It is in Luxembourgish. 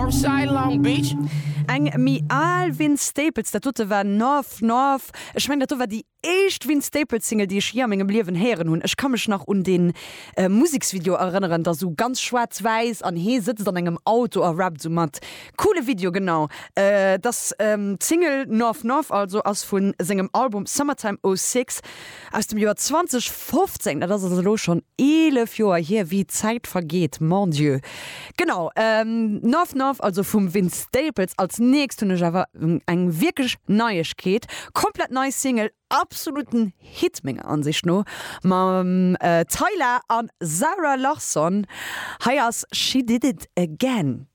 Northside Long Beach. Eng méi al Vince Staples, dat dote war North North. Ech mengen dat do war déi éischt Vince Staples Single déi ech jee a mengem Liewen héieren hunn. Ech ka mech nach un dee Museksvideo erënneren, dat sou ganz schwaarz-wäiss an hee sëtzt an engem Auto a rappt sou mat. Coole Video, genau. Dass d'Single North North also ass vu sengem Album Summertime 06 aus dem Joer 2015. Dat ass also elo schonn 11 Joer hier. Wéi d'Zäit vergeet, mon Dieu. Genau, North North also vum Vince Staples. Als nächst hunn ech awer eng wierklech Neiegkeet, komplett nei Single, absoluten Hit menger Ansicht no, mam Tyla an Zara Larsson. Hei ass She Did It Again.